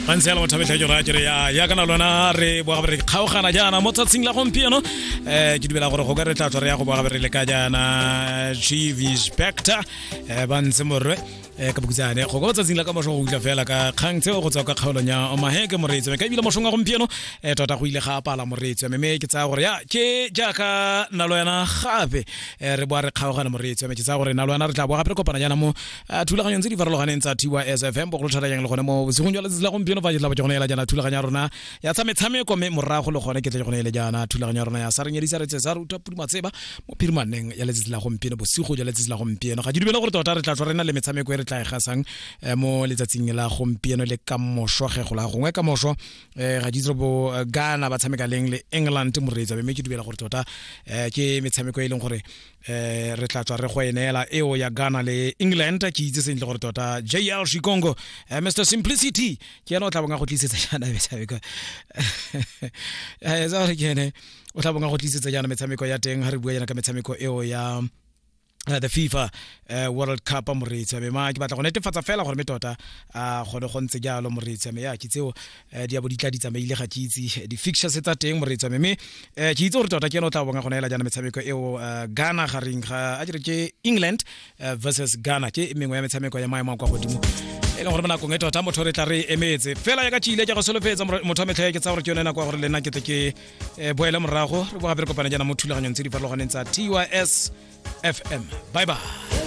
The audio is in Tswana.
Gantsi yalo motho metlha jora kere ya ya kana lona re boa gape re kgaogana jaana mo tsatsing la gompieno. Ke dumela gore go ka re tla tswa re ya go boa gape re le ka jaana Chief Inspector ba ntse morwe ka bokutsane go ka tsatsing la ka moso go utlwa fela ka kgang tseo go tswa ka kgaolong ya Omaheke moreetsi ka ebile mosong wa gompieno tota go ile ga apala moreetsi mme ke tsaya gore ya ke jaaka nna le wena gape re boa re kgaogana moreetsi mme ke tsaya gore nna le wena re tla boa gape re kopana jaana mo thulaganyong tse di farologaneng tsa TYSFM, bogolo thata jang le gone mo bosigong jwa letsatsi la gompieno fa ke tla bo ke gone ela jaana thulaganyo ya rona ya tsa metshameko, mme morago le gone ke tle ke gone ele jaana thulaganyo ya rona ya sa re nyedisa re tse sa ruta pudumatseba mo phirimaneng ya letsatsi la gompieno, bosigo jwa letsatsi la gompieno. Ga ke dumele gore tota re tla tswa re na le metshameko e re tla e gasang mo letsatsing la gompieno le ka moso ge go la gongwe ka moso. Ga ke itse bo Ghana ba tshameka leng le England moreetsa, mme ke dumela gore tota ke metshameko e leng gore re tla tswa re go e neela eo ya Ghana le England. Ke itse sentle gore tota JL Shikongo, Mr Simplicity, ke ene o tla bong a go tlisetsa jaana metshameko tsa gore ke ene o tla bong a go tlisetsa jaana metshameko ya teng. Ga re bua jaana ka metshameko eo ya the FIFA World Cup moreetsi wa me, ma ke batla go netefatsa fela gore me tota a gone go ntse jalo moreetsi wa me. Ya ke tseo di a bo di tla di tsamaile, ga ke itse di-fixtures tsa teng moreetsi wa me, mme ke itse gore tota ke ene o tla bonga go neela jaana metshameko eo, Ghana gareng ga a ke re ke England versus Ghana. Ke mengwe ya metshameko ya maemo a kwa godimo e leng gore mo nakong e tota motho re tla re emetse fela ya ka tšile ke go solofetsa motho wa metlha. Ke tsa gore ke yone nako ya gore le nna ke tle ke boele morago, re bo gape re kopane jaana mo thulaganyong tse di farologaneng tsa TYS FM. Bye bye.